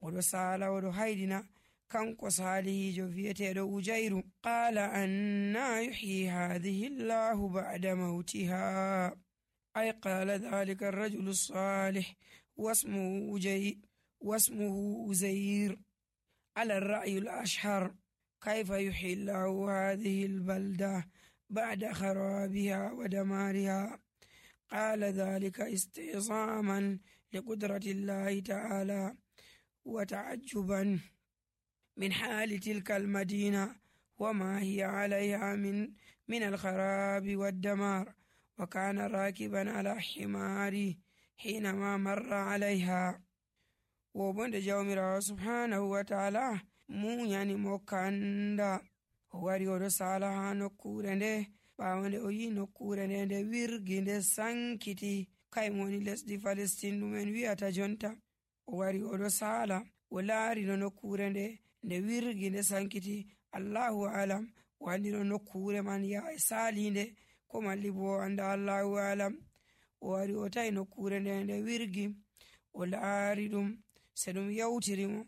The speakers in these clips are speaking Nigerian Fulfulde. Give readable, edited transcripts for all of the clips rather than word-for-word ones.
oɗo sala oɗo haydina kanko salihijo vi'eteɗo Ujayru. Qala anna yuhyi hadhihi Allahu ba'da mautiha, ay qala dhalika ar-rajulu as-salih wasmuhu Uzayr ala ar-ra'yi al-ashhar. كيف يحيي الله هذه البلدة بعد خرابها ودمارها؟ قال ذلك استعظاما لقدرة الله تعالى وتعجبا من حال تلك المدينة وما هي عليها من الخراب والدمار. وكان راكبا على حماره حينما مر عليها. وبند جومرا سبحانه وتعالى munyani mo kanda o wari oɗo sala ha nokkure nde. ɓawo nde o yi nokkure nde wirgi nde sankiti kayum woni lesdi Palestine ɗum en wi'ata jonta. o wari oɗo sala o laari no nokkure nde wirgi nde sankiti. Allahu alam o andi no nokkure man ya e salinde ko malli bo o anda. Allahu alam. o wari o tawi nokkure nde wirgi o laari ɗum se ɗum yawtirimo.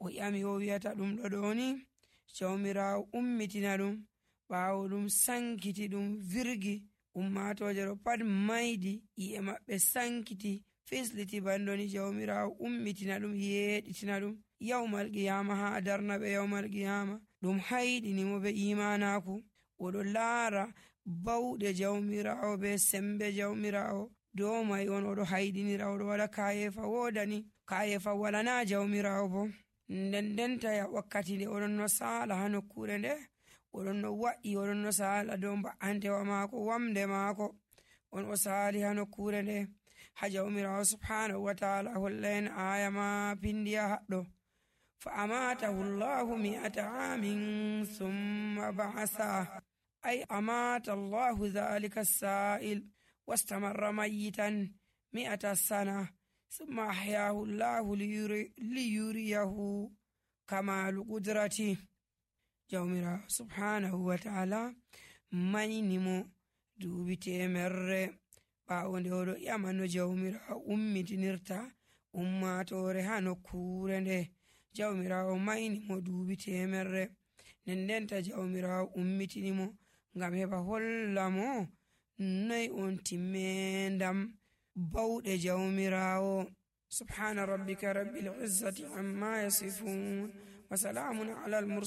o ƴami o wi'ata ɗum ɗo ni jawmirawo ummitina ɗum ɓawo ɗum sankiti ɗum virgi. ummatoje ɗo pat maydi iye maɓɓe sankiti fisliti bandoni jawmirawo ummitina ɗum yeɗitina ɗum yawmal qiyama ha darna ɓe yawmal qiyama. ɗum hayɗinimo be imanaku. oɗo laara bawɗe jawmirawo be sembe jawmirawo. dow mai on oɗo hayɗinira oɗo waɗa kayefa wodani kayefa walana jawmirawo bo. ndendenta ya wakkati nde oɗon no sala ha nokkure nde oɗon no wa'i oɗon no sala dow ba'antewa maako wamde maako on o sali ha nokkure nde. ha jawmirawo subhanahu wa ta'ala holla en aya ma pindiya haɗɗo. fa amatahu Allahu mi'ata amin thumma ba'atha, ay amata Allahu dhalika as-sa'il wastamarra mayyitan mi'ata sana ثم أحياه الله ليريه كمال قدرته. jawmira subhanahu wa ta'ala maynimo duubi temerre ɓawo nde oɗo ƴama no jawmira ummitinirta ummatore ha nokkure nde. jawmirawo maynimo duubi temerre ndendenta jawmirawo ummitinimo ngam heɓa hollamo noy on timmendam bawɗe jawmirawo. subhana rabbika rabbil izzati amma yasifun wa salamun ala al mursalin.